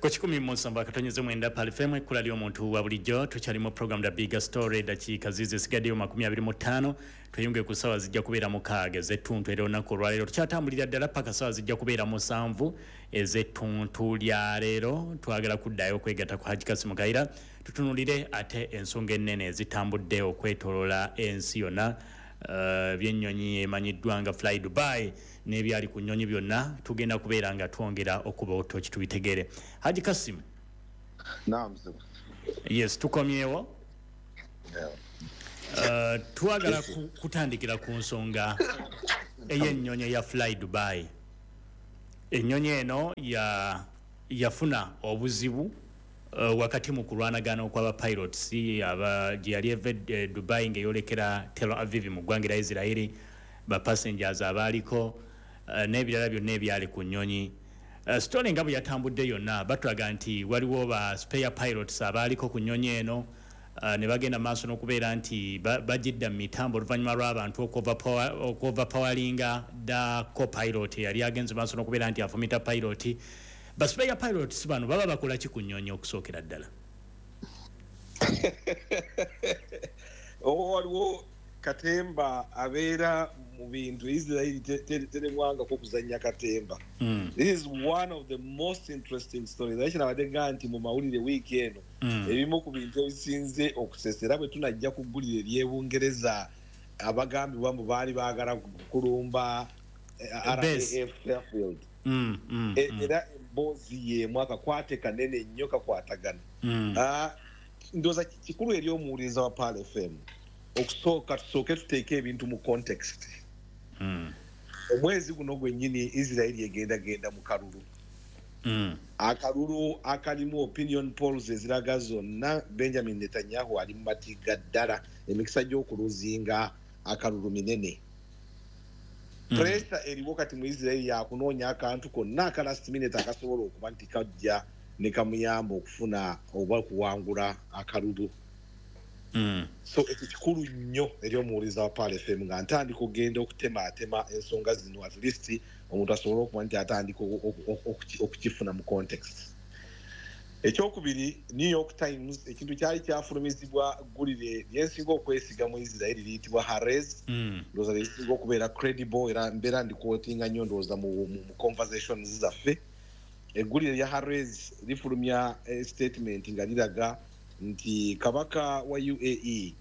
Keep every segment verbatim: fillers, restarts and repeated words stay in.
Ku kikumi mu nsanvu akatonyeze mwenda Pearl F M, ekkula ly'omuntu wa bulijjo. Tukyali mu program The Bigger Story. Dakiika zizi esigaddeyo makumi abiri mu ttaano tweyunge ku ssaawa zijja kubeera mukaaga ez'ettuntu. Era olunaku olwaleero tukyatambulira ddala paka ssaawa zijja kubeera musanvu ez'ettuntu lya leero. Twagala kuddayo okwegatta ku Haji Kasimu Kayira, tutunulire ate ensonga ennene ezitambudde okwetoloola ensi yonna. Uh, byennyonyi emanyiddwa nga Fly Dubai n'ebyali ku nnyonyi byonna, tugenda kubeera nga twongera okuba otoki tubitegere. Haji Kasimu. Naam. Yes, tukomyewo. Yeah. Uh, twagala ku, kutandikira ku nsonga ey'ennyonyi eya Fly Dubai. Ennyonyi eno ya yafuna obuzibu uh, wakati mu kulwanagana okw'aba pilots aba gye yali eva e Dubai ng'eyolekera Tel Aviv mu ggwanga lya Israeli, ba passengers abaaliko uh, n'ebirala byonna ebyali ku nnyonyi. uh, story nga bwe yatambudde yonna, batulaga nti waliwo ba spare pilots abaaliko ku nnyonyi eno, uh, ne bagenda maaso n'okubeera nti bagidda mu mitambo oluvannyuma lw'abantu okuoverpoweringa the copilot eyali agenze maaso n'okubeera nti afumita pilot. Ba spare pilots bano baba bakola ki ku nnyonyi okusookera ddala? Waliwo katemba abeera mu bintu. Israeli teremwangako okuzannya katemba. mm. This is one of the most interesting stories. Naye kinabadde nga nti mu mawulire wiiki eno, mm. ebimu ku bintu ebisinze okusesa, era bwe tunajja ku ggulire ery'Ebungereza abagambibwa mbu baali baagala kulumba Base. R A F Fairfield. Mm, mm, E- mm. Era emboozi y'emu, akakwate kanene nnyo kakwatagana. Mm. Ah, ndowooza kikulu eri omuwuliriza wa Pearl F M okusooka tusooke tuteeke ebintu mu context. Mm. Omwezi guno gwennyini Israeli egendagenda mu kalulu, Mm. akalulu akalimu opinion polls eziraga zonna Benjamin Netanyahu ali mu matiga ddala, emikisa gy'okuluzinga akalulu minene. Mm. Pressure eriwo kati mu Israeli yakunoonya akantu konna aka last minute akasobola okuba nti kajja ne kamuyamba okufuna oba okuwangula akalulu. Mm. So ekyo kikulu nnyo eri omuwuliriza wa Pearl F M nga ntandika okugenda okutemaatema ensonga zino, at least omuntu asobole okuba nti atandika okukifuna mu context. Ekyokubiri, New York Times, ekintu kyali kyafulumizibwa ggulire lyensinga okwesiga mu Israeli liyitibwa Haaretz. Mm. Ndowooza lyesinga okubeera credible, era mbeera ndiquotinga nnyo ndowooza mu, mu, mu conversations zaffe. Eggulire lya Haaretz lifulumya eh, statement nga liraga nti kabaka wa U A E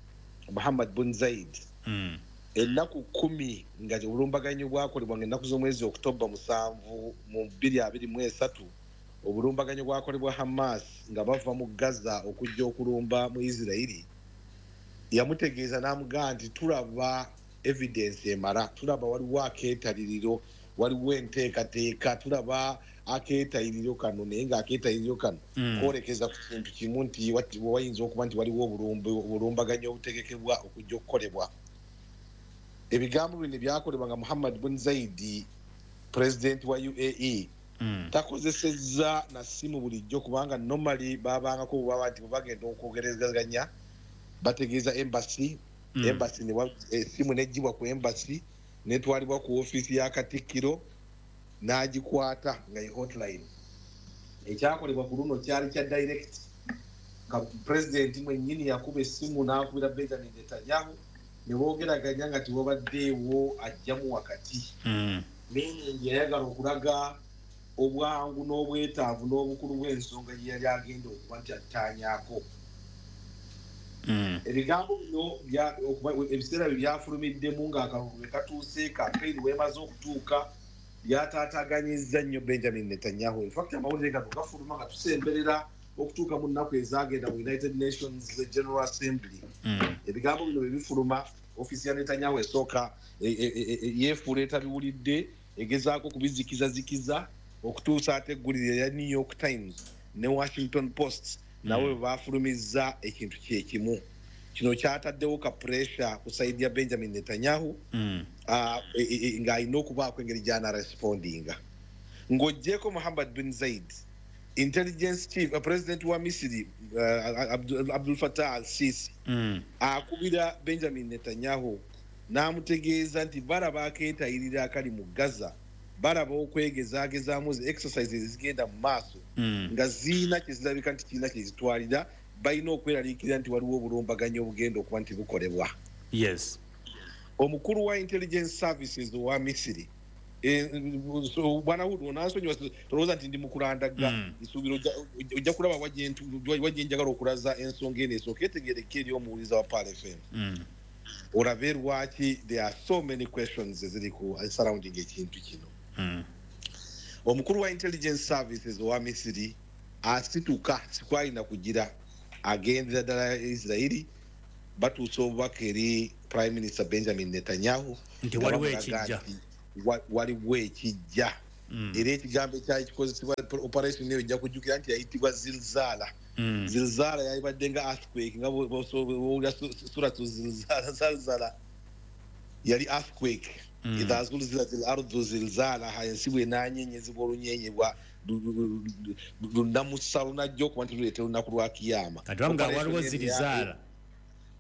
Muhammad bin Zaid, Mm. ennaku kumi nga obulumbaganyi bwakolebwa, nga ennaku z'omwezi Okutoba musanvu mu bbiri abiri mu esatu, obulumbaganyi bwakolebwa Hamas nga bava mu Gaza okujja okulumba mu Isirairi, yamutegeeza n'amugamba nti tulaba evidence emala, tulaba waliwo akeetaliriro, waliwo enteekateeka, tulaba akeetayiriro kano, naye ng'akeetayiriro kano Mm. kwolekeza ku kintu kimu nti wayinza okuba nti waliwo obulumbaganyi obutegekebwa okujja okukolebwa. Ebigambo bino byakolebwa nga Muhammad bin Zaidi, pulezidenti wa U A E, Mm. takozesezza na ssimu bulijjo, kubanga normally babangako bwebaba nti bwebagenda okwogerezaganya bategeeza embassy. Mm. Embassy essimu negibwa ku embassy netwalibwa ku ofiisi ya katikkiro n'agikwata nga ye hotline. Ekyakolebwa ku luno kyali kya direct, nga pulezidenti mwennyini yakuba essimu n'akubira Benjamin Netanyahu ne boogeraganya nga tiwabaddeewo ajjamu wakati. Mm. Meaning yayagala okulaga obwangu n'obwetaavu n'obukulu bw'ensonga gye yali agenda okuba nti attaanyaako. Mm. Ebigambo bino bya- okuba- ebiseera bye byafulumiddemu ng'akalulu bwe katuuse, kampeyini weemaze okutuuka, byataataaganyizza nnyo Benjamin Netanyahu. Infact, amawulire gano gafuluma nga tusemberera okutuuka mu nnaku ezagenda mu United Nations General Assembly. Mm. Ebigambo bino bwe bifuluma, ofiisi ya Netanyahu esooka e- e- e- e- yeefuula etabiwulidde, egezaako okubizikizazikiza okutuusa ate eggulire erya New York Times ne Washington Post nabo bwe bafulumizza ekintu kyekimu. Kino kyataddewo ka pressure ku side ya Benjamin Netanyahu, Mm. ah, e- e- e- ng'alina okubaako engeri gy'anarespondinga. Ng'oggyeko Muhammad bin Zaid, intelligence chief, uh, president wa Misiri uh, Abdul, Abdul Fatah al Sisi Mm. akubira Benjamin Netanyahu n'amutegeeza nti balaba akeetayirira akali mu Gaza. Balaba okwegezaagezaamu zi exercises ezigenda mu maaso Mm. nga ziina kyezirabika nti kirina kyezitwalira, balina okweraliikirira nti waliwo obulumbaganyi obugenda okuba nti bukolebwa. Yes. Omukulu wa intelligence services owa Misiri, eh, so, bwana Hudu, onansonyiwa, tolowooza nti ndi mukulandaga. Mm. Nsuubira ojja- ojja kulaba wa gye njagala okulaza ensonga eno esooka etegeereka eri omuwuliza wa Pearl F M, Mm. olabe lwaki there are so many questions eziri ku surrounding ekintu kino. Mm. Omukulu wa intelligence services owa Misiri asituka, sikwalina kugira, agendera ddala Isirairi, batuusa obubaka eri Prime Minister Benjamin Netanyahu nti nga waliwo bamulaga ekijja. Nti wa- waliwo ekijja. Mm. Era ekigambo ekyali kikozesebwa operation eyo, ojja kujjukira nti yayitibwa Zilzala. Mm. Zilzala yalibadde nga earthquake, nga bwowulira suratu Zilzala, Zalzala yali earthquake. Mm. Idha zulzilat al ardu zilzalaha, ensi bwenanyenyezebwa olunyenyebwa lunamusa lunajja okuba nti luleeta olunaku lwa kiyama. Kati bamugamba Operation waliwo eno ya- zirizaala.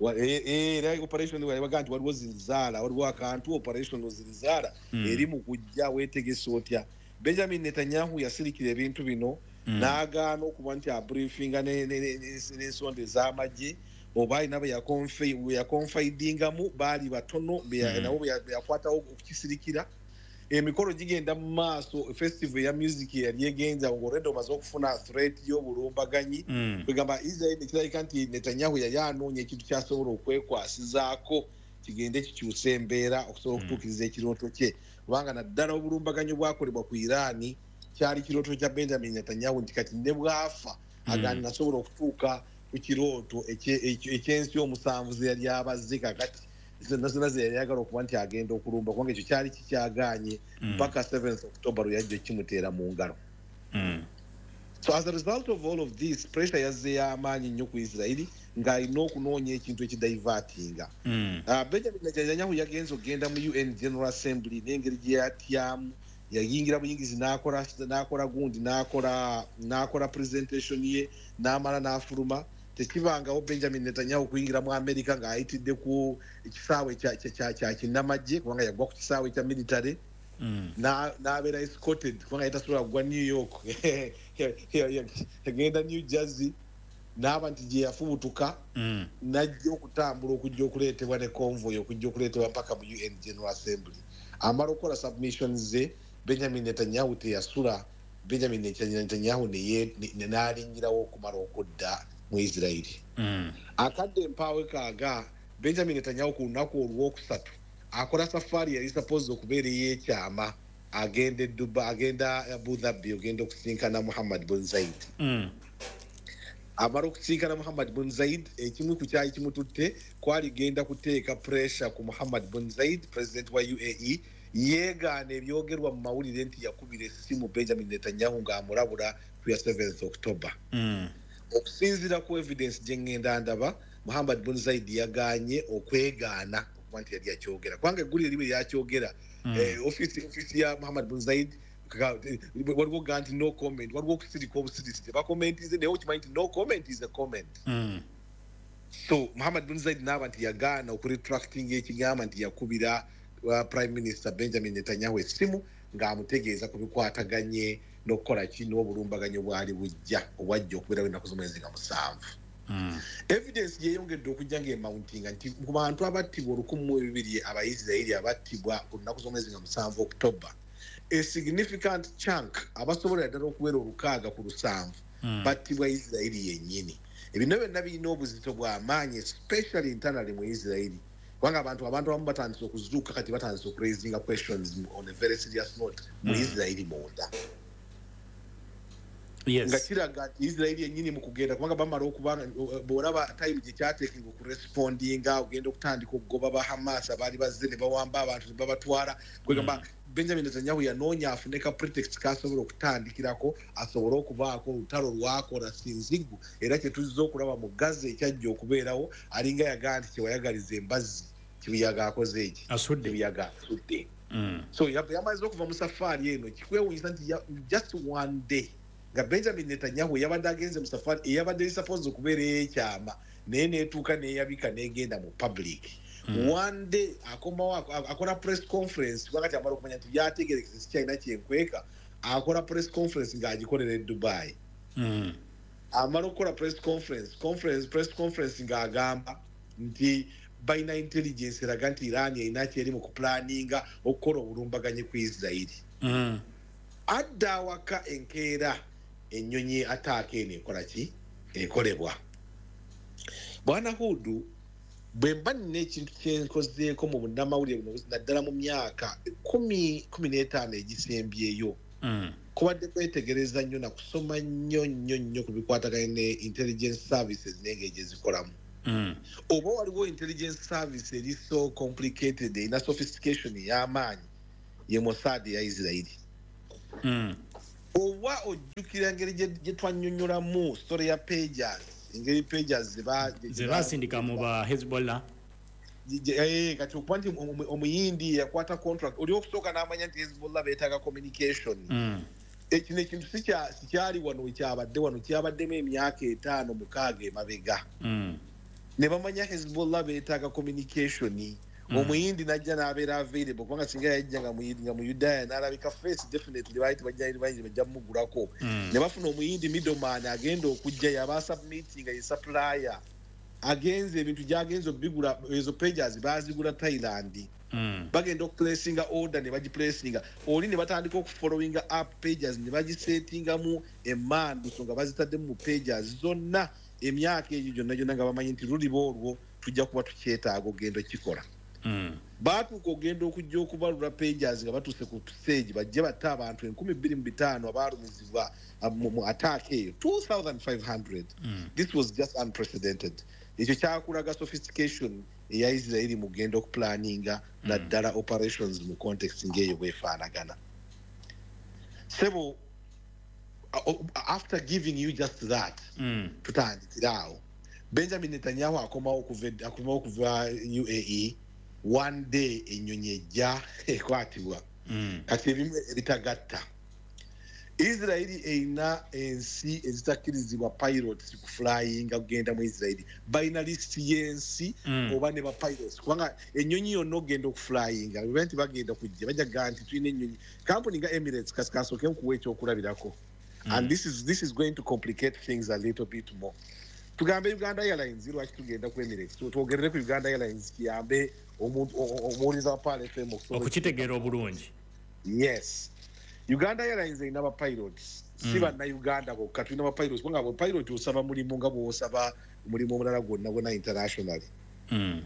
Wa- eh, eh, era operation baga nti waliwo zilzaala, waliwo akantu, operation zilzaala Mm. eri mu kujja, weetegese otya? Benjamin Netanyahu yasirikira ebintu bino Mm. n'agaana okuba nti abriefinga ne- ne- ne- ne- n'ensonda ez'amagye oba alina be yaconfidingamu, baali batono be ya- Mm. nabo be ya- be yakwatawo okukisirikira. Emikolo gigenda mu maaso, festival ya music yali egenza ng'olwedde omaze okufuna threat y'obulumbaganyi. Mm. Kwegamba Israel nekirabika nti Netanyahu yali anoonya ekintu kyasobola okwekwasizaako kigende kikyuse embeera okusobola okutuukiriza ekirooto kye, kubanga naddala obulumbaganyi bwakolebwa ku Iraani kyali kirooto kya Benjamin Netanyahu nti kati ne bwafa agandi nasobola okutuuka ku kirooto ekye- ekye- ekyensi omusanvu ze yali abazze kakati zonna zonna ze yali ayagala okuba nti agenda okulumba, kubanga ekyo kyali kikyagaanye Mm. mpaka seventh October lwe yajja ekimuteera mu ngalo. Mm. So as a result of all of this, pressure yazze y'amaanyi nnyo ku Isirairi ng'alina okunoonya ekintu ekidivertinga. Mm. uh, benjamin Netanyahu yagenze okugenda mu U N General Assembly n'engeri gye yatyamu, yayingira buyingizi n'akola n'akola gundi n'akola n'akola presentation ye n'amala n'afuluma. Tekibangawo Benjamin Netanyahu kuyingira mu America ng'ayitidde ku ekisaawe kya- kya- kya kya kinnamagye, kubanga yagwa ku kisaawe kya military Mm. na- n'abeera escorted, kubanga yali tasobola kugwa New York, yagenda New Jersey n'aba nti gye yafubutuka Mm. najja okutambula okujja okuleetebwa ne convoy okujja okuleetebwa mpaka mu U N General Assembly. Amala okukola submissions ze, Benjamin Netanyahu teyasula. Benjamin Netanyahu neye- ne- n'alinnyirawo okumala okudda mu Isirairi. Mm. Akadde empaawe kaaga, Benjamin Netanyahu ku lunaku olwokusatu akola safaari yali supposed okubeera ey'ekyama, agenda e Dubai, agenda Abu Dhabi, ogenda okusinkana Muhammad bin Zaid. Mm. Amala okusinkana Muhammad bin Zaid, ekimu ku kyali kimututte kwali genda kuteeka pressure ku Muhammad bin Zaid, president wa U A E, yeegaana ebyogerwa mu mawulire nti yakubira essimu Benjamin Netanyahu ng'amulabula ku ya seventh October. Mm. Okusinziira ku evidence gye ŋŋenda ndaba, Muhammad bin Zaid yagaanye okwegaana okuba nti yali yakyogera, kubanga eggulire libe lyakyogera. Mm. Eh, office office ya Muhammad bin Zaid ka- eh, waliwo ga nti no comment, waliwo okusirika obusirisi, tebakomentize, naye okimanyi nti no comment is a comment. Mm. So Muhammad bin Zaid naaba nti yagaana okuretractinga ekigamba nti yakubira uh, Prime Minister Benjamin Netanyahu essimu ng'amutegeeza ku bikwataganye n'okukola ki n'obulumbaganyi obwali bujja, obwajja okubeerawo ennaku z'omwezi nga musanvu. Mm. Evidence yeyongedde okujja ng'emountinga nti ku bantu abattibwa olukumi mu ebibiri Abaisirairi abattibwa ku nnaku z'omwezi nga musanvu October, a significant chunk abasobolera ddala okuwera olukaaga ku lusanvu Mm. battibwa Isirairi yennyini. Ebino byonna birina obuzito bw'amaanyi, especially internally mu Isirairi, kubanga abantu abantu abamu batandise okuzuuka kati, batandise okuraisinga questions on a very serious note mu Mm. Isirairi munda, Yes. nga kiraga nti Isirairi yennyini mu kugenda, kubanga bamala okubanga bw'olaba time gye kyateekinga okurespondinga, ogenda okutandika okugoba ba Hamas abaali bazze ne bawamba abantu ne babatwala, kwegamba Benjamin Netanyahu yanoonya afune ka pretext kasobola okutandikirako asobole okubaako olutalo lwakola sinzigu. Era kyetuzza okulaba mu Gaza ekyajja okubeerawo, alinga yagaa nti kyewayagaliza embazzi, kibuyaga akoze eki? Asudde. Kibuyaga asudde. Mm. So ya- yamaze okuva mu safaari eno, kikwewuunyisa nti ya- just one day nga Benjamin Netanyahu yabadde agenze mu safaari eyabadde supposed okubeera ey'ekyama, naye neetuuka neeyabika negenda mu public. Mm. One day akomawo akola press conference, wakati amala okumanya nti byategerekese sikyalina kyenkweka, akola press conference ng'agikolera e Dubai. Mm. Amala okukola press conference conference press conference ng'agamba nti balina intelligence eraga nti Iran erina kyeri mu kuplaninga okukola obulumbaganyi ku Israeli. Mm. Adda awaka enkeera ennyonyi attack eno ekola ki? Ekolebwa. Bwana Hudu, bwe mba nina ekintu kyenkozeeko mu bunnamawulire buno naddala mu myaka kumi kumi n'etaano egisembyeyo, Mm. kubadde kwetegereza nnyo na kusoma nnyo nnyo nnyo ku bikwataganye ne intelligence services n'engeri gye zikolamu. Mm. Oba waliwo intelligence service eri so complicated, erina sophistication ey'amaanyi, ye Mossad ya Israeli. Mm. Oba ojjukira engeri gye gye twannyonnyolamu story ya pagers, engeri pagers ze ba- Ze basindika mu ba Hezbollah. Eh, kati okuba nti omu- omuyindi yakwata contract oli okusooka n'amanya nti Hezbollah beetaaga communication. Mm. Ekino ekintu sikya- sikyali wano ekyabadde wano, kyabaddemu emyaka etaano mukaaga emabega. Mm. Ne bamanya Hezbollah beetaaga communication. Mm. Omuyindi n'ajja n'abeera available, kubanga singa yajja nga Muyindi, nga Muyudaaya n'alabika face, definitely baali tebajja, bayinza bajja mumugulako. Mm. Ne bafuna omuyindi middleman agenda okujja yaba submitting ye supplier, agenze ebintu gy'agenze obigula, ezo pagers baazigula Thailand. Mm. Bagenda okuplacinga order ne bagiplacinga oli ne batandika okufollowinga up pagers ne bagisettingamu emmanduso nga bazitaddemu mu pagers zonna emyaka egyo gyonna gyonna, nga bamanyi nti luliba olwo tujja kuba tukyetaaga ogenda okikola. Mm. Baatuuka ogenda okujja okubalula pagers nga batuuse ku stage bajje batte abantu enkumi bbiri mu bitaano abaalumizibwa mu mu attack eyo, two thousand five hundred. Mm. This was just unprecedented. Ekyo kyakulaga sophistication eya Israeli mu kugenda okuplaninga naddala operations mu context ng'eyo bwefaanagana. Sebo, after giving you just that, Mm. tutandikira awo. Benjamin Netanyahu akomawo okuva akomawo okuva U A E, one day ennyonyi ejja ekwatibwa. Mm. Kati ebimu ebitagatta, Israeli erina ensi ezitakkirizibwa pilots kuflyinga kugenda mu Israeli. Balina lisiti y'ensi Mm. oba ne bapilots, kubanga ennyonyi yonna ogenda okuflyinga bwe nti bagenda kujja bajja kugaa nti tulina ennyonyi kampuni nga Emirates. Kasi kansooke nkuwa ekyokulabirako, and this is, this is going to complicate things a little bit more. Tugambe Uganda Airlines. Lwaki tugenda ku Emirates? Twogerere ku Uganda Airlines kiyambe omuntu o- o- omuwuliriza wa Pearl F M okusobola okukitegeera obulungi. Yes, Uganda Airlines erina bapilots, si Mm. bannayuganda bokka. Tulina bapilots kubanga bapilot osaba mulimu nga bw'osaba omulimu omulala gwonna gwonna internationally. Mm.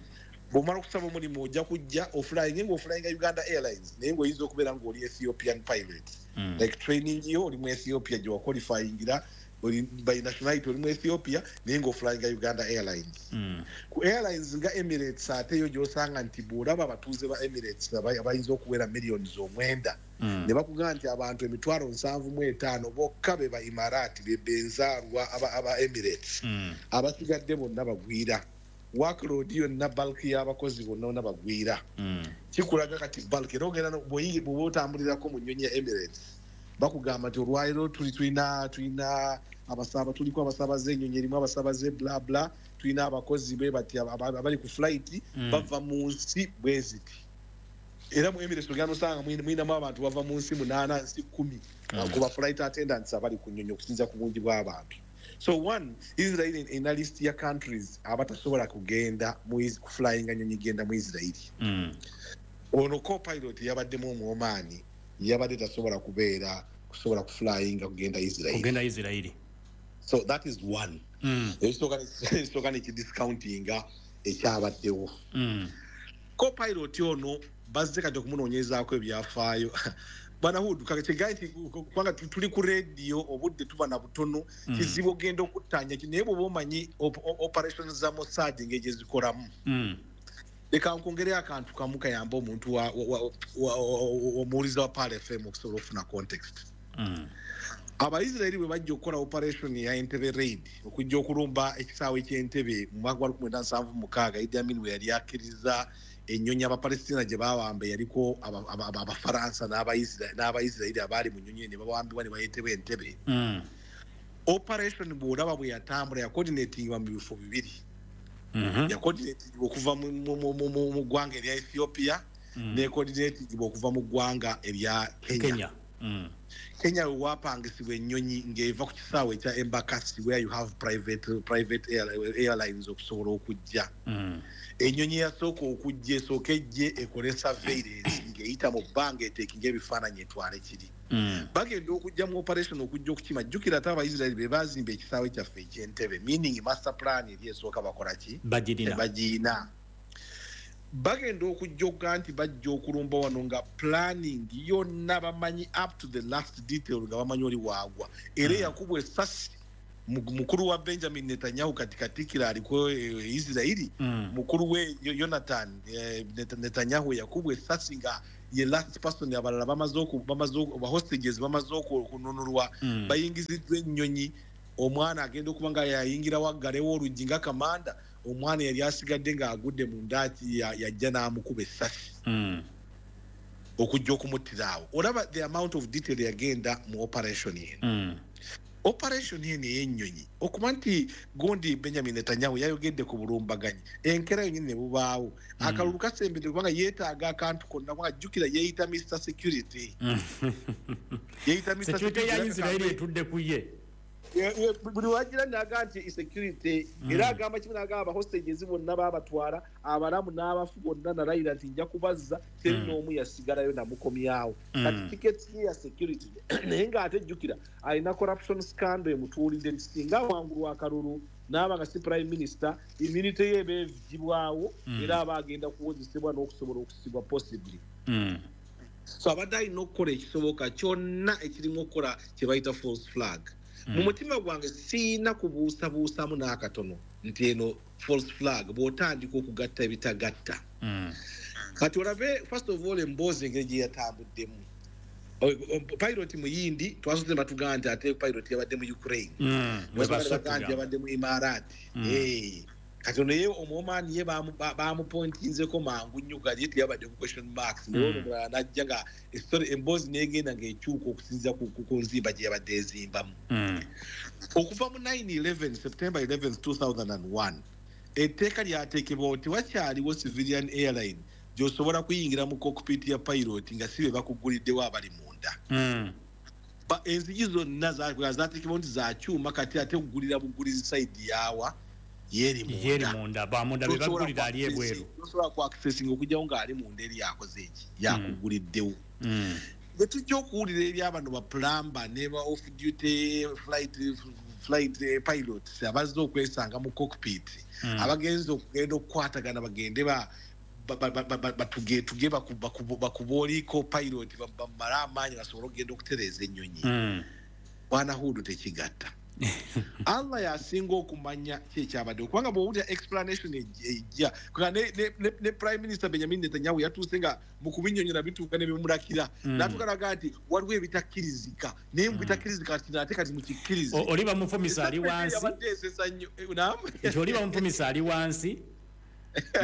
Bw'omala okusaba omulimu ojja kujja oflyinge ng'oflyinga Uganda Airlines, naye ng'oyinza okubeera ng'oli Ethiopian pilot. Mm. Like training yo oli mu Ethiopia gye waqualifyingira, oli by nationality oli mu Ethiopia, naye ng'oflyinga Uganda Airlines. Mm. Ku airlines nga Emirates ate yo gy'osanga nti bw'olaba abatuuze ba Emirates aba- abayinza okuwera millions omwenda, Mm. ne bakugamba nti abantu emitwalo nsanvu mu etaano bokka be ba Imarati, be benzaalwa aba, aba Emirates. Mm. Abasigadde bonna bagwira. Workload yonna, bulk y'abakozi bonna bonna bagwira. Mm. Kikulaga kati bulk era ogenda no- bw'oyi- bw'oba otambulirako mu nnyonyi ya Emirates, bakugamba nti olwaliro tuli tulina tulina abasaba, tuliko abasaabaze, ennyonyi erimu abasaabaze bla bla, tulina abakozi bwe bati aba- aba- abali ku flight Mm. bava mu nsi bwe ziti. Era mu Emirates ogenda osanga mwina- mwinamu abantu bava mu nsi munaana, nsi kumi, Mm. ku ba flight attendants abali ku nnyonyi okusinziira ku bungi bw'abantu. So one, Israel erina list ya countries abatasobola kugenda mu Is- kuflyinga nnyonyi genda mu Israeli. Mm. Ono copilot yabaddemu Omuomaani, yabadde tasobola kubeera kusobola kuflyinga kugenda Israeli. Kugenda Isirairi. So that is one. Mm. Ekisooka ekisooka nekidiscountinga ekyabaddewo. Mm. Copilot ono bazze kati okumunoonyezaako ebyafaayo. Bwana Hood, kigaye nti kubanga tuli ku radio, obudde tuba na butono, Mm. kizibu ogenda okuttanya ki, naye bw'oba omanyi op- o- operations za Mossad engeri gye zikolamu, Mm. leka nkwongereyo akantu kamu kayambe omuntu wa- wa- wa- wa- wa- omuwuliza wa Pearl F M okusobola okufuna context. Mm. Abaisiraeri bwe bajja okukola operation ya Entebbe raid, okujja okulumba ekisaawe ky'Entebe mu mwaka gwa lukumi mwenda nsanvu mu mukaaga, Idi Amin bwe yali akkiriza ennyonyi Abapalestina gye bawamba yaliko aba- aba- aba- Abafaransa n'Abaisira- n'Abaisiraeri abaali mu nnyonyi ne bawambibwa ne bayitebwa Entebbe. Mm. Operation bw'olaba bwe yatambula, yacoordinatingibwa mu bifo bibiri. Mm -hmm. Yacoordinatingibwa okuva mu ggwanga erya Ethiopia, mm. necoordinatingibwa okuva mu ggwanga erya Kenya. Kenya. Mm. Kenya wewapangisibwa ennyonyi ng'eva ku kisaawe ekya Embakasi, where you have private, private air, airlines okusobola okujja. Mm. Ennyonyi yasooka okujja esooka ejje ekole surveillance ng'eyita mu bbanga, eteekinga ebifaananyi, etwale kiri. Mm. Bagenda okujja mu operation okujja okukima. Jjukira ate Abaisiraeri be baazimba ekisaawe kyaffe eky'Entebe, meaning master plan eri esooka bakola ki? Bagirina. Bagirina. Bagenda okujja okuga nti bajja okulumba wano nga planning yonna bamanyi up to the last detail, nga bamanyi oli waagwa. Era eyakubwa essasi, mukulu wa Benjamin Netanyahu, kati katikira aliko e, Israeli, Mm. mukulu we Yonatan eh, Netanyahu yakubwa essasi nga ye last person. Abalala bamaze bamaze, hostages bamaze okununulwa, Mm. bayingiziddwa ennyonyi. Omwana agenda okuba nga yayingira waggalewo oluggi nga kamanda, omwana yali asigadde ng'agudde mu ndaaki, yajja n'amukuba essasi Mm. okujja okumuttira awo. Olaba the amount of detail yagenda mu operation eno. Mm. Operation eno ey'ennyonyi, okuba nti gundi Benjamin Netanyahu yayogedde ku bulumbaganyi, enkera yonyini ne bubaawo, Mm. akalulu kasembedde, kubanga yeetaaga akantu konna, kubanga jjukira yeeyita Mister Security. Yeeyita Mister Security ya Israeli etudde ku ye. Buli wagira naga nti security, era agamba kimu, nagamba abahostages bonna babatwala, abalamu n'abafu bonna, nalayira nti nja kubazza, teri Mm. n'omu yasigalayo namukomyawo. Mm. Kati tiketi ye ya security, naye ng'ate jjukira alina corruption scandal emutuulidde, nti singa awangulwa akalulu n'aba nga si prime minister, immunity ye eba evugibwawo, Mm. era aba agenda kuwozesebwa n'okusobola okusibwa possibly. Mm. So abadde alina okukola ekisoboka kyonna ekirimu okukola kye bayita false flag. Mu mutima gwange siina kubuusabuusamu n'akatono nti eno false flag, bw'otandika okugatta ebitagatta. Mm. Kati olabe first of all emboozi engeri gye yatambuddemu. Pilot muyindi, twasoose batugamba nti ate pilot yabadde mu Ukraine, Mm. batugamba nti yabadde mu Imarati. Mm. Eh, kati ono ye Omuomaani ye bamupointinzeko mangu nnyo, kati ye teyabadde ku question marks. Naye ono omulala n'ajja nga story, emboozi n'egenda ng'ekyuka okusinziira ku, ku, ku nzimba gye yabadde ezimbamu. Mm. Okuva mu nine eleven, September eleventh two thousand and one, etteeka lyateekebwawo, tewakyaliwo civilian airline gy'osobola kuyingira mu cockpit ya pilot nga si be bakuguliddewo abali munda. Mm. Enzigi zonna zateekebwawo nti za kyuma, kati ate kugulira bugulizi side yaawa yeeri Yeeri munda, bamunda be bagulira ali ebweru. Tosobola ku accessing okujjawo ng'ali munda eri yakoze eki, yakuguliddewo. Mm. Bwe tujja okuwulira ebyabano ba plumber ne ba off duty flight flight pilots abazze okwesanga mu cockpit, Mm. abagenze okugenda okukwatagana, bagende ba batugetuge bakuboliko pilot, bamale amaanyi basobole okugenda okutereeza ennyonyi. Mm. Bwana Hudu, tekigatta. Allah yasinga okumanya ki ekyabadde, kubanga bw'owulira explanation ejja ne, ne, ne, ne Prime Minister Benjamin Netanyahu yatuuse nga mu kubinyonyola bituuka ne bimulakira, Mm. n'atuuka naga nti waliwo ebitakkirizika, naye mu bitakkirizika kati ate kati mukikkirize. Oli bamufumisa ali wansi. Yabadde esesa nnyo. Eh, naam? Nti oli bamufumisa ali wansi,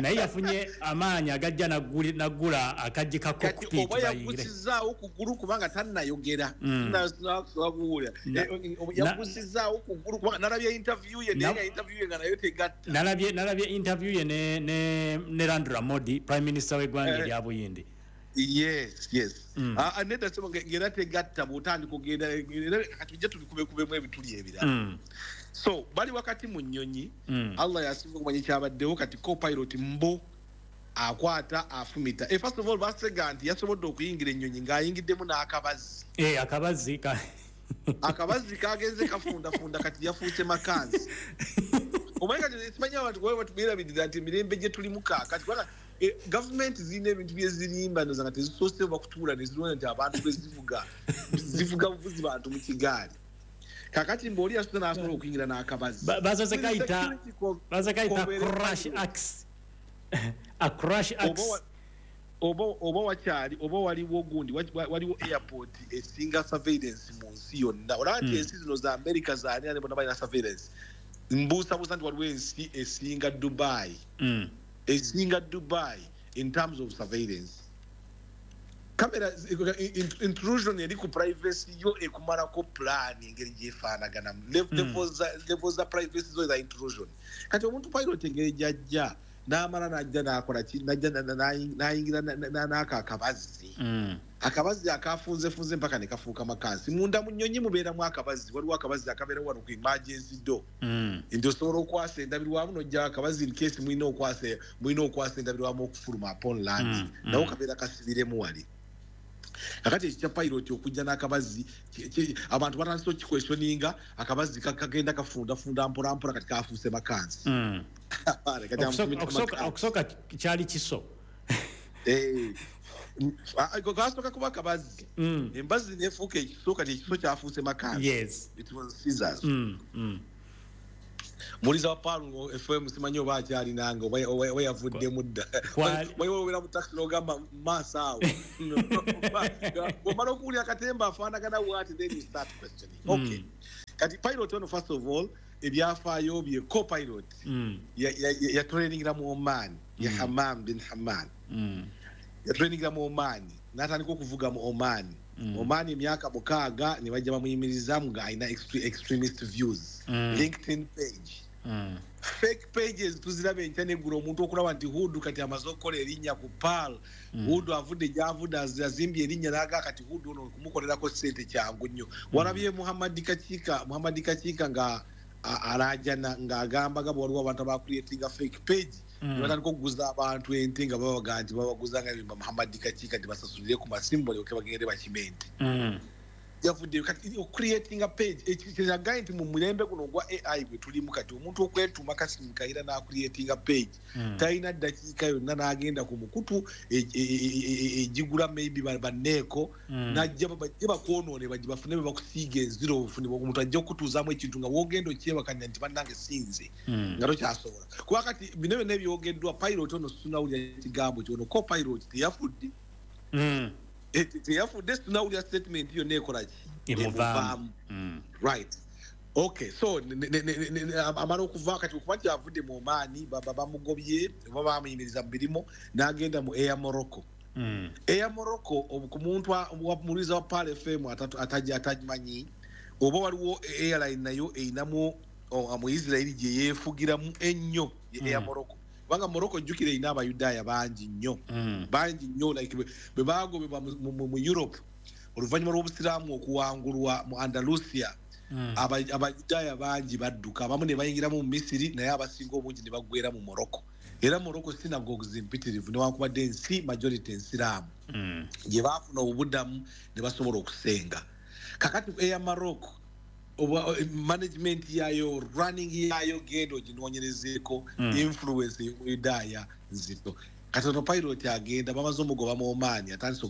naye yafunye amaanyi agajja naggula akaggi ka cockpit. Oba yagusizaawo kugulu kubanga tannayogera. Mm. Nakuwulira yagusizaawo kugulu kubanga nalabye interview ye, naye nga interview ye nga nayo tegatta. Nalabye nalabye interview ye ne ne Narendra Modi, prime minister w'eggwanga Eh. erya Buyindi. yes yes Mm. Ah, nedda sebo, ngera tegatta bw'otandika ogenda, era kati tujja tubikubekubemu ebituli ebirala. Mm. So bali wakati mu nnyonyi, Mm. Allah yasinga okumanya ekyabaddewo. Kati copilot mbo akwata afumita. Eh, first of all basega nti yasobodde okuyingira ennyonyi ng'ayingiddemu n'akabazi. Eh, akabazi ka Akabazi kagenze kafundafunda, kati yafuuse makanzi. Omanyi kati simanyi abantu kuba batubeerabirira nti emirembe gye tulimu kaakati, kubanga eh, gavumenti zirina ebintu byezirimba noza nga tezisoose bakutuula ne zirowooza nti abantu bwe zivuga zivuga buvuzi bantu mu kigaali. Kakati mbe oli yasuze n'asobola okuyingira n'akabazi. Ba- basoose kayita Security ko- basoose kayita kobeere crash axe, a crash oba axe. wa- oba oba wakyali oba waliwo gundi wa- waliwo airport esinga surveillance mu nsi yonna. Olaba nti Mm. ensi zino za America zaani ani bonna balina surveillance. Mbuusabuusa nti waliwo ensi esinga Dubai, Mm. esinga Dubai in terms of surveillance. Kamera intrusion eri ku privacy yo ekumalako plan engeri gyefaanaganamu, level za privacy zo za intrusion. Kati omuntu pilot engeri gyajja n'amala n'ajja n'akola ki, n'ajja n'ayingira n'aka akabazzi, akabazzi akafunzefunze mpaka ne kafuuka makansi. Munda mu nnyonyi mubeeramu akabazzi, waliwo akabazzi akabeera wano ku emergency door, nti osobola okwasa endabirwamu n'ojja akabazzi in case mulina okwasa mulina okwasa endabirwamu okufuluma upon landing, nawo kabeera kasibiremu wali. Kakati ekyo kya pilot okujja n'akabazzi, abantu batandise okukiquestioninga, akabazzi kagenda kafundafunda mpola mpola, kati kafuuse makansi. Okusooka kyali kiso, kasooka kuba akabazzi, embazzi nefuuka ekiso, kati ekiso kyafuuse makansi. It was scissors. Muliza wa Pearl F M simanyi oba akyalinanga oba yavuddemu dda. Wewera mu taxi n'ogamba maaso awo, bw'omala okuwulira akatemba afaanagana bw'ati, then you start questioning. Okay, kati pilot ono, first of all, ebyafaayo bye, co-pilot yatrainingira mu Oman, ya Hammam bin Hamman, yatrainingira mu Oman, n'atandika okuvuga mu Oman. Oman emyaka mukaaga ne bajja bamuyimirizamu ng'alina extremist views. LinkedIn page, fake pages tuziraba enkya n'eggulo, omuntu okulaba nti Hudu kati amaze okukola erinnya ku Pearl, Hudu avudde gy'avudde, azimbye erinnya, n'aga kati Hudu ono kumukolerako ssente kyangu nnyo. Walabye Muhammad Kakiika, Muhammad Kakiika nga alaajana ng'agamba nga waliwo abantu abacreatinga fake page, ne batandika okuguza abantu ente nga babaga nti babaguza nga Muhammad Kakiika nti basasulire ku masimu balyoke bagende bakime ente. Yavuddeyo kati ocreatinga page ekiraga nti mu mulembe guno ogwa A I gwe tulimu kati, omuntu okwetuuma Kasimu Kayira n'acreatinga page, talina ddakiika yonna n'agenda ku mukutu egigula maybe banneeko, n'ajja bajje bakwonoone, bajje bafune be bakusiiga enziro obufune, omuntu ajja okutuuzaamu ekintu nga w'ogenda okyebakanya nti bannange sinze, nga tokyasobola. Kuba kati bino byonna ebyogeddwa, pilot ono situnawulira kigambo kyono, co-pilot teyafudde, teyafudde, situnawulira statement yonna ekola ki, emuvaamu. Right, okay, so amala okuva kati okuba nti avudde mu Oman, bamugobye oba bamuyimiriza mu mirimu, n'agenda mu Air Morocco. Air Morocco, ku muntu muliza wa Pearl F M atagimanyi, oba waliwo airline nayo erinamu mu Israel gye yeefugiramu ennyo, ye Air Morocco. Kubanga Morocco jjukira erina Abayudaaya bangi nnyo, bangi nnyo, like bwe baagobebwa mu Europe oluvannyuma lw'obusiraamu okuwangulwa mu Andalusia, Abayudaaya bangi badduka, abamu ne bayingiramu mu Misiri, naye abasinga obungi ne baggwera mu Morocco. Era Morocco synagogues mpitirivu, newankubadde ensi majority ensiraamu, gye baafuna obubuddamu ne basobola okusenga. Kakati Air Morocco management yayo, running yayo, genda oginoonyerezeeko, influence y'Omuyudaaya nzito. Kati ono pilot agenda, bamaze omugoba mu Oman, atandise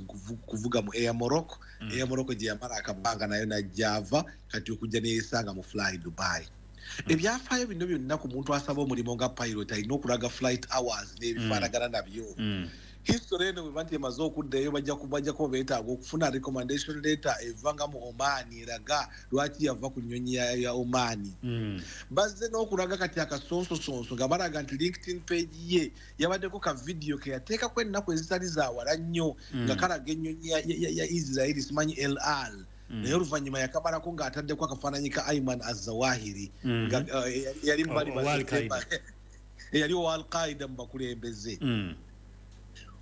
kuvuga mu Air Morocco. Air Morocco gye yamala akabanga nayo n'ajja ava, kati okujja neyeesanga mu Fly Dubai. Ebyafaayo bino byonna ku muntu asaba omulimu nga pilot alina okulaga flight hours n'ebifaanagana nabyo. History eno bwe nti emaze okuddayo, bajja bajja kuba beetaaga okufuna recommendation letter eva nga mu Oman eraga lwaki yava ku nnyonyi ya Oman. Bazze n'okulaga kati akasonsosonso nga balaga nti LinkedIn page ye yabaddeko ka video ke yateekako ennaku ezitali za wala nnyo, nga kalaga ennyonyi ya Israel simanyi El Al, naye oluvannyuma yakamalako ng'ataddeko akafaananyi ka Ayman Az-Zawahiri, nga yali yali owa Al-Qaeda mu bakulembeze.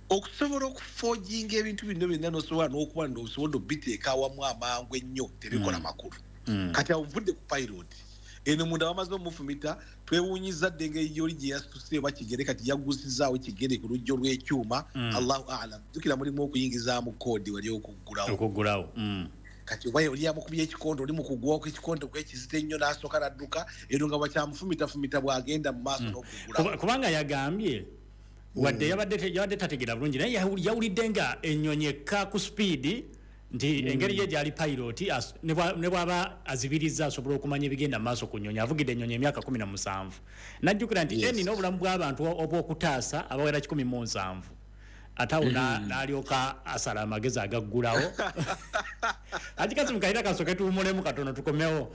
Okusobola okuforginga ebintu bino byonna n'osobola n'okuba n'osobola obiteeka awamu amangu ennyo, tebikola makulu. Kati awo nvudde ku pilot eno, munda bamaze omufumita, twewuunyizza dda engeri gy'oli gye yasituse oba kigere, kati yaggusizaawo kigere ku lujjo lw'ekyuma, Allahu a'lam. Jjukira mulimu okuyingizaamu koodi wali okuggulawo, okuggulawo. Kati oba oli yamukubye ekikondo, oli mu kugwako ekikondo kwekizita ennyo n'asooka n'adduka, eno nga bakyamufumitafumita bw'agenda mu maaso n'okuggulawo. Kubanga yagambye wadde yabadde yabadde tategeera bulungi, naye yawulidde nga ennyonyi ekka ku speed nti engeri ye gyali pilot ne bw'aba azibiriza asobola okumanya ebigenda mu maaso ku nnyonyi. Avugidde ennyonyi emyaka kumi na musanvu, n'ajjukira nti eni n'obulamu bw'abantu obw'okutaasa abawera kikumi mu nsanvu, ate awo n'alyoka asala amagezi agaggulawo. Ati Kasimu Kayira kasooke tuwummulemu katono tukomewo.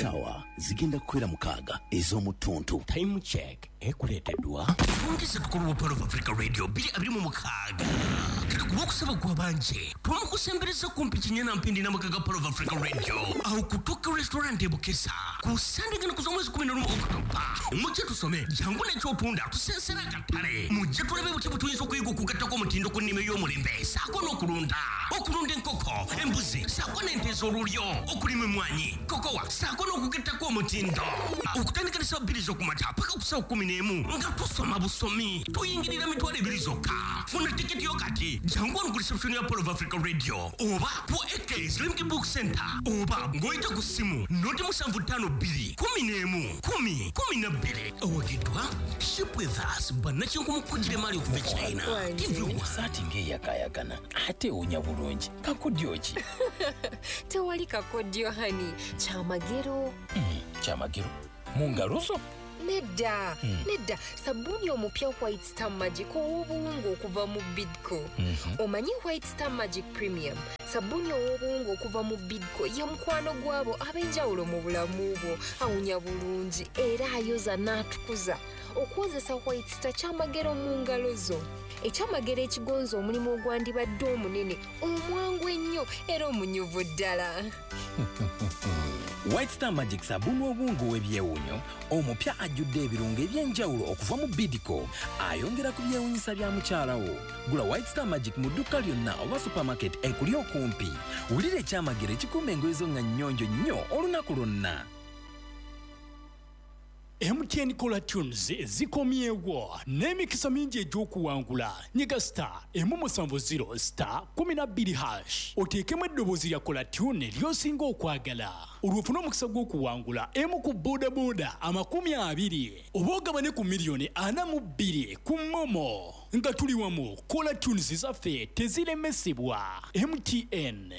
Sawa zigenda kukwera mukaaga ez'omutuntu. Time check. Ekuleeteddwa Twongeze tukulu Pearl of Africa Radio bbiri abiri mu mukaaga. Kati ku lwokusaba gw'abanje twamukusembereza kumpi Kinyana Mpindi n'amaka ga Pearl of Africa Radio awo ku Tokyo Restaurant e Bukesa ku Sande gano kuza omwezi kumi n'olumu Okutoba. Mujje tusome, jangu n'ekyotunda tusensera akatale, mujje tulabe butya bwe tuyinza okuyiga okugattako omutindo ku nnima ey'omulembe ssaako n'okulunda, okulunda enkoko, embuzi ssaako n'ente ez'olulyo, okulima emmwanyi, kokowa ssaako n'okugattako omutindo. Okutandika ne ssaawa bbiri z'okumakya paka ku ssaawa kkumi n'emu nga tusoma busomi, tuyingirira mitwalo ebiri zokka. Funa tiketi yo kati, jangu wano ku reception ya Pearl of Africa Radio oba ku A K Slimki Book Center oba ng'oyita ku ssimu noti musanvu ttaano bbiri kumi n'emu kumi kumi na bbiri. Owagiddwa Ship With Us bannakinku kugira emmaali okuva e China. T V one. Saati ng'eyakaayakana ate ewunya bulungi. Kakodyo ki? Tewali kakodyo hani, kyamagero. Mm, kyamagero mu ngalo zo? Nedda, mm. nedda, sabuni omupya White Star Magic ow'obuwunga okuva mu Bidco. Mm -hmm. Omanyi White Star Magic Premium, sabuni ow'obuwunga okuva mu Bidco ye mukwano gwabo ab'enjawulo mu bulamu bwo, awunya bulungi era ayoza n'atukuza. Okwozesa White Star kyamagero mu ngalo zo. Ekyamagero ekigonza omulimu ogwandibadde omunene, omwangu ennyo era omunyuvu ddala. White Star Magic sabuni obuwunga ow'ebyewuunyo omupya ajjudde ebirungo eby'enjawulo okuva mu Bidco, ayongera ku byewuunyisa bya mukyala wo. Gula White Star Magic mu dduuka lyonna oba supermarket ekuli okumpi. Wulira ekyamagero ekikuuma engoye zo nga nnyonjo nnyo olunaku lwonna. M T N Caller Tunes zikomyewo n'emikisa mingi egy'okuwangula. Nyiga star emu musanvu zero star kumi na bbiri hash oteekemu eddoboozi lya Caller Tune ly'osinga okwagala, olwo ofune omukisa gw'okuwangula emu ku bodaboda amakumi abiri oba ogabane ku miliyoni ana mu bbiri ku MoMo. Nga tuli wamu, Caller Tunes zaffe teziremesebwa. M T N.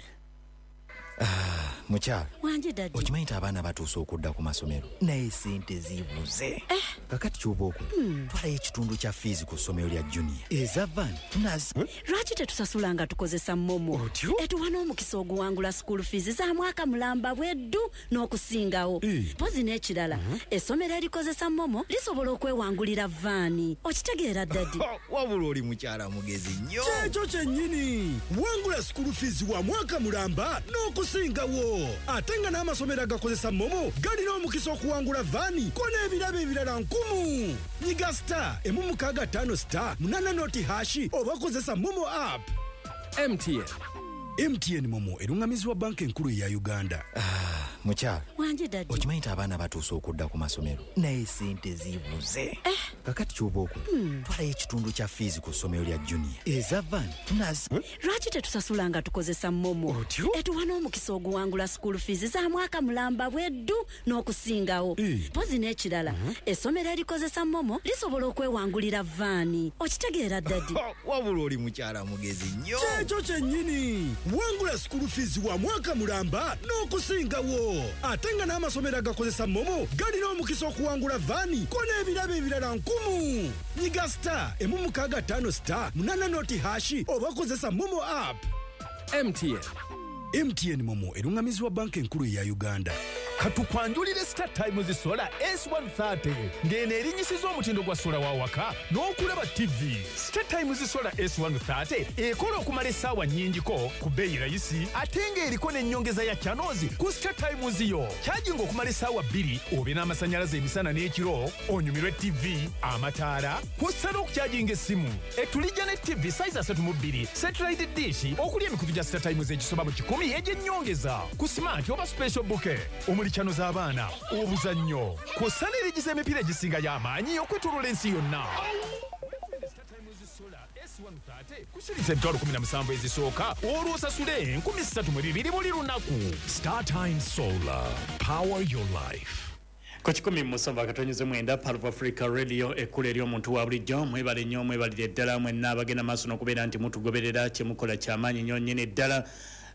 Ah, mukyala wanje daddy, okimanyi nti abaana batuuse okudda ku masomero naye sente zibuze. Eh. Kakati ky'oba okola, hmm. twalayo ekitundu kya fiizi ku ssomero lya junior eza van tunazi. Lwaki tetusasula nga tukozesa MoMo? Etuwa n'omukisa oguwangula school fees za mwaka mulamba bweddu n'okusingawo. Mpozi n'ekirala, essomero erikozesa MoMo lisobola okwewangulira vaani. Okitegeera daddy? Wabula oli mukyala mugezi nnyo. Kyekyo kyennyini, wangula school fees wa mwaka mulamba n'okusingawo. Ate nga n'amasomero agakozesa MoMo galina omukisa okuwangula vaani ko n'ebirabo ebirala nkumu. Nyiga star emu mukaaga ttaano star munaana noti hashi oba kozesa MoMo app. M T N. M T N MoMo erungamizibwa banka enkulu eya Uganda. Ah, mukyala wanje daddy, okimanyi nti abaana batuuse okudda ku masomero naye sente zibuze. Eh. Kakati ky'oba okola, hmm. twalayo ekitundu kya fiizi ku ssomero lya junior eza van tunazi. Lwaki tetusasula nga tukozesa MoMo? Etuwa n'omukisa oguwangula school fees za mwaka mulamba bweddu n'okusingawo. Mpozi n'ekirala, essomero erikozesa MoMo lisobola okwewangulira vaani. Okitegeera daddy? Wabula oli mukyala mugezi nnyo. Kyekyo kyennyini, wangula school fees wa mwaka mulamba n'okusingawo. Ate nga n'amasomero agakozesa MoMo galina omukisa okuwangula vaani ko n'ebirabo ebirala nkumu. Nyiga star emu mukaaga ttaano star munaana noti hashi oba kozesa MoMo app. M T N. M T N MoMo erungamizibwa banka enkulu eya Uganda. Katukwanjulire Star Times Solar S one thirty ng'eno erinnyisiza omutindo gwa sola wa waka n'okulaba T V. Star Times Solar S one thirty ekola okumala essaawa nnyingiko ku bbeeyi rayisi ate ng'eriko n'ennyongeza ya channels ku Star Times yo. Kyajinga okumala essaawa bbiri obe n'amasannyalaze emisana n'ekiro, onyumirwe T V, amataala, kw'ossa n'okukyajinga essimu. Etulijja ne T V size asatu mu bbiri, satellite dish okuli emikutu gya Star Times egisoba mu kikumi egy'ennyongeza ku smart oba special bouquet omuli chano z'abaana, obuzannyo, kw'ossa n'erigiza emipiira egisinga y'amaanyi okwetooloola ensi yonna. Kusiriza emitwalo kumi na musanvu ezisooka olwo osasule enkumi ssatu mu bibiri buli lunaku. Star Times Solar, power your life. Ku kikumi musanvu akatonyeze mwenda Pearl of Africa Radio, ekkula ery'omuntu wa bulijjo. Mwebale nnyo, mwebalire ddala mwenna abagenda maaso n'okubeera nti mutugoberera, kyemukola kyamaanyi nnyo nnyini ddala.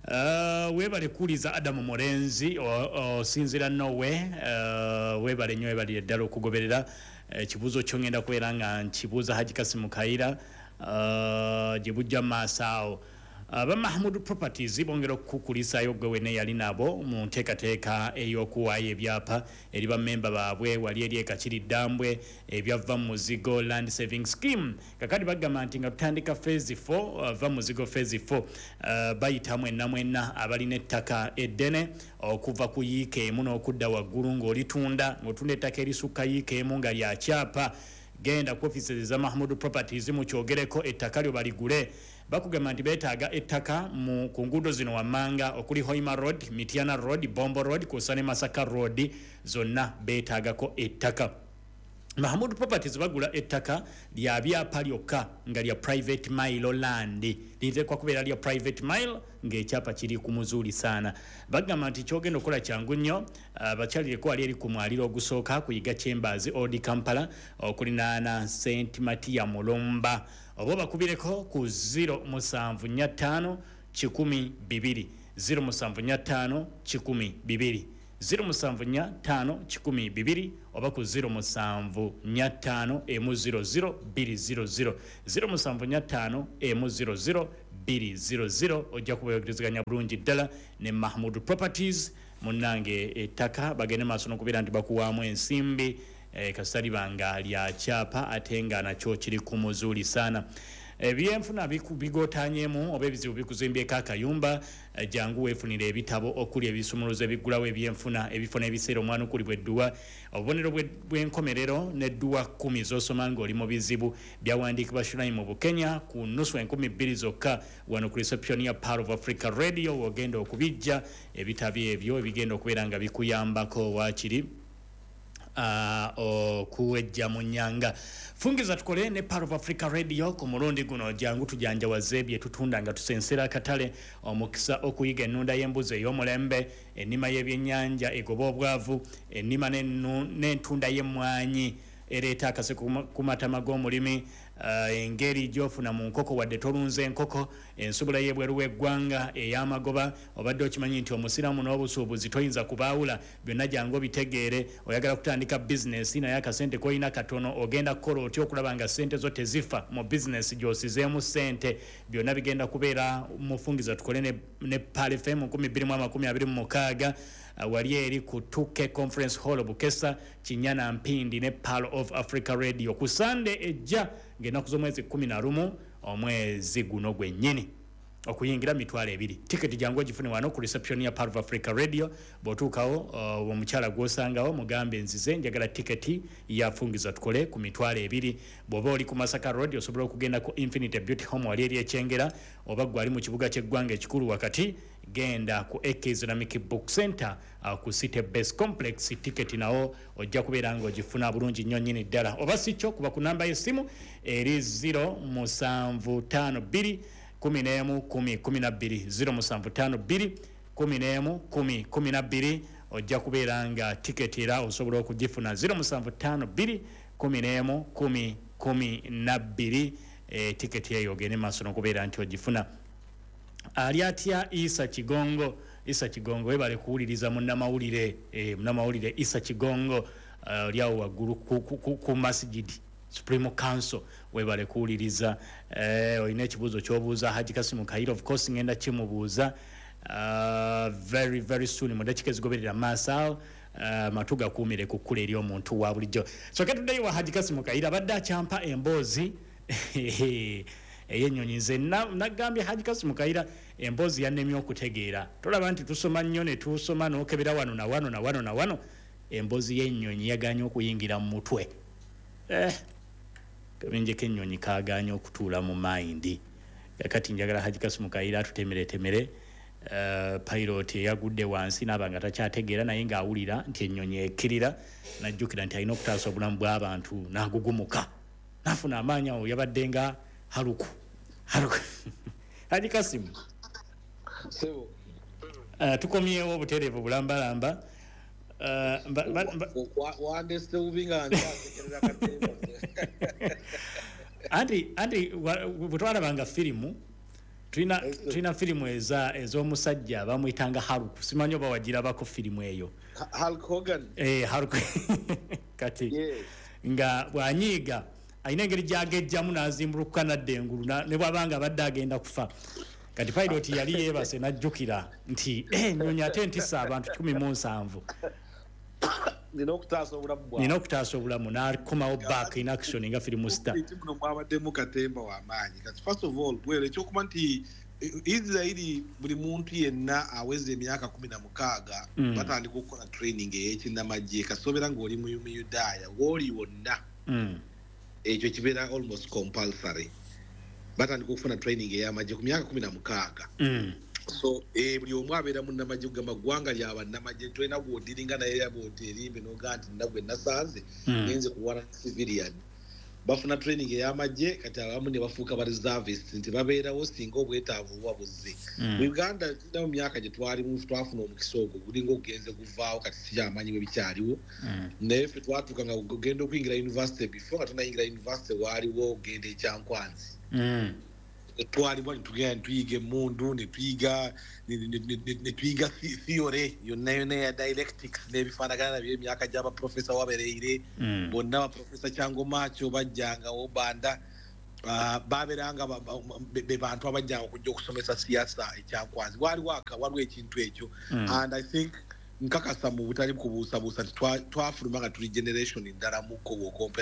Uh, webale kuuliza Adamu Murenzi osinzira Norway. Uh, webale nnyo, webalire ddala okugoberera ekibuuzo kyo ngenda kubeera nga nkibuuza Haji Kasimu Kaira uh, gye bujja mu maaso awo. Aba Mahmood Properties bongera okukulisaayo gwe wene yali nabo mu nteekateeka ey'okuwaayo ebyapa eri bammemba baabwe wali eri ekakiri ddambwe ebyava mu muzigo land saving scheme. Kakati bagamba nti nga tutandika phase four, va muzigo phase four, uh, bayita mwenna mwenna abalina ettaka eddene okuva ku yiika emu n'okudda waggulu ng'olitunda ng'otunda ettaka erisukka yiika emu nga lya kyapa. Genda ku offices za Mahmood Properties mukyogereko ettaka lyo baligule. Bakugamba nti beetaaga ettaka mu ku nguudo zino wammanga okuli Hoima Road, Mitiana Road, Bombo Road kw'ossa ne Masaka Road, zonna beetaagako ettaka. Mahmood Properties bagula ettaka lya byapa lyokka nga lya private mile land, liteekwa kubeera lya private mile ng'ekyapa kiri ku muzuuli sana. Bagamba nti kyogenda okukola kyangu nnyo, bakyalireko wali eri ku mwaliro ogusooka ku Yiga Chambers Old Kampala okulinaana Saint Matia Mulumba, oba bakubireko ku zero musanvu nnya ttaano kikumi bibiri zero musanvu nnya ttaano kikumi bibiri zero musanvu nnya ttaano kikumi bibiri oba ku zero musanvu nnya ttaano emu zero zero bbiri zero zero zero musanvu nnya ttaano emu zero zero bbiri zero zero. Ojja kubayogerezeganya bulungi ddala ne Mahmood Properties. Munnange ettaka bagende maaso n'okubeera nti bakuwaamu ensimbi e, kasita libanga lya kyapa ate nga nakyo kiri ku muzuuli sana. Ebyenfuna bigootanyemu oba ebizibu bikuzimbyeko akayumba, jangu weefunire ebitabo okuli ebisumuluzo ebiggulawo ebyenfuna, ebifo n'ebiseera omwanukulibwa edduwa, obubonero bw'enkomerero n'edduwa kkumi z'osoma ng'oli mu bizibu. Byawandiikibwa Shuraim Bukenya ku nnusu enkumi bbiri zokka wano ku reception ya Pearl of Africa Radio w'ogenda okubijja ebitabo ebyo ebigenda okubeera nga bikuyambako waakiri okuwejja mu nnyanga. Fungiza tukole ne Pearl of Africa Radio ku mulundi guno, jangu tujanjawaze bye tutunda nga tusensera akatale, omukisa okuyiga ennunda y'embuzi ey'omulembe, ennima y'ebyennyanja egoba obwavu, ennima n'entunda y'emmwanyi ereeta akaseko ku matama g'omulimi, uh, engeri gy'ofuna mu nkoko wadde tolunze enkoko, ensubula y'ebweru w'eggwanga ey'amagoba. Obadde okimanyi nti omusiraamu n'obusuubuzi toyinza kubaawula, byonna jangu obitegeere. Oyagala kutandika bizinesi naye akasente k'olina katono, ogenda kukola otya okulaba nga ssente zo tezifa mu bizinesi gy'osizeemu ssente? Byonna bigenda kubeera mufungiza tukole ne, ne Pearl F M nkumi bbiri mu amakumi abiri mu mukaaga wali eri ku two K Conference Hall Bukesa Kinyana Mpindi ne Pearl of Africa Radio ku Sunday ejja ng'ennaku z'omwezi kkumi na lumu omwezi guno gwennyini, okuyingira mitwalo ebiri. Tiketi jangu ogifune wano ku reception ya Pearl of Africa Radio. Bw'otuukawo uh, omukyala gw'osangawo mugambe nzize njagala tiketi yafungiza tukole ku mitwalo ebiri. Bw'oba oli ku Masaka Road osobola okugenda ku Infinite Beauty Home wali eri Ekyengera, oba gwe ali mu kibuga ky'eggwanga ekikulu wakati genda ku A K Islamic Book Center uh, ku City Base Complex. Tiketi nawo ojja kubeera ng'ogifuna bulungi nnyo nnyini ddala. Oba si kyo kuba ku namba y'essimu eri zero musanvu ttaano bbiri kumi n'emu kumi kumi na bbiri zero musanvu ttaano bbiri kumi n'emu kumi kumi na bbiri. Ojja kubeera nga tiketi era osobola okugifuna zero musanvu ttaano bbiri kumi n'emu kumi kumi na bbiri. E, tiketi eyo ogende maaso n'okubeera nti ogifuna. Ali atya Isa Kigongo? Isa Kigongo webale kuwuliriza munnamawulire, e, munnamawulire Isa Kigongo oli awo waggulu ku, ku, ku, ku masjidi Supreme Council, webale kuwuliriza. Eh, olina ekibuuzo ky'obuuza Haji Kasimu Kayira, of course ngenda kimubuuza uh, very very soon mu ddakiika ezigoberera maaso awo. Uh, matu gakuumire ku kkula eri omuntu wa bulijjo. So ketuddeyo wa Haji Kasimu Kayira abadde akyampa emboozi ey'ennyonyi. Nze nagambye Haji Kasimu Kayira emboozi yannemye okutegeera. Tolaba nti tusoma nnyo ne tusoma n'okebera wano na wano na wano na wano, emboozi y'ennyonyi yagaanye okuyingira mu mutwe. Eh, kabenje k'ennyonyi kaagaanye okutuula mu mayindi. Kakati njagala Haji Kasimu Kayira atutemeretemere uh, pilot eyagudde wansi n'aba nga takyategeera naye ng'awulira nti ennyonyi ekkirira, n'ajjukira nti alina okutaasa obulamu bw'abantu n'agugumuka n'afuna amaanyi. Awo yabadde nga Haruku Haruku. Haji Kasimu, uh, tukomyewo obutereevu bulambalamba. Wandese bubi nga nkyasekerera katemba. Anti anti bwe twalabanga firimu, tulina tulina firimu eza ez'omusajja bamuyitanga Haruku, simanyi oba wagirabako firimu eyo. Hulk Hogan. Eh, Hulk kati yes. Nga bw'anyiiga alina engeri gy'agejjamu n'azimbulukuka n'adda engulu ne bw'aba nga abadde agenda kufa. Kati pilot yali yeebase n'ajjukira nti, "Eh, ennyonyi ate ntisa abantu kikumi mu nsanvu." Nina okutaasa obulamu bwawe. Nina okutaasa obulamu, n'akomawo back in action nga film star. Eki muno mwabaddemu katemba w'amaanyi. Kati first of all, well, ekyokuba nti eh, Israeli buli muntu yenna aweza emyaka kumi na mukaaga Mm. batandika okukola training ey'ekinnamagye. Kasobeera ng'oli mu Muyudaaya wooli wonna, Mm. ekyo kibeera almost compulsory. Batandika okufuna training ey'amagye ku myaka kumi na mukaaga. Mm. So eh, buli omu abeera munnamagye, kugamba ggwanga lya bannamagye. Tolina gwodiringa naye bwoti erimbe nogaa nti nina gwe nasanze Mm. ngenze kulwana civilian. Bafuna training ey'amagye, kati abamu ne bafuuka ba reservist nti babeerawo singa obwetaavu buba buzze. Mm. Mu Uganda tulina mu myaka gye twalimu twafuna omukisa ogwo, gulinga ogugenze guvaawo. Kati sikyamanyi bwe bikyaliwo, Mm. naye ffe twatuuka nga ogenda okuyingira university, before nga tonayingira university waaliwo ogenda ekyankwanzi. Mm. Twalibwa netugenda netuyiga emundu, netuyiga ne- ne- ne- ne- netuyiga thi- theory yonna yonna eya dialectics n'ebifaanagana nabyo, emyaka gy'abaprofesa wabereire. Mm. Bonna baprofesa Kyangomakyo bajjangawo banda. Ah, babeeranga ba- ba- be be bantu abajjanga okujja okusomesa siyasa ekyankwanzi. Waliwo aka waliwo ekintu ekyo. Mm. And I think nkakasa mu butali kubuusabuusa nti twa- twafuluma nga tuli generation ndala mukko bw'okompera.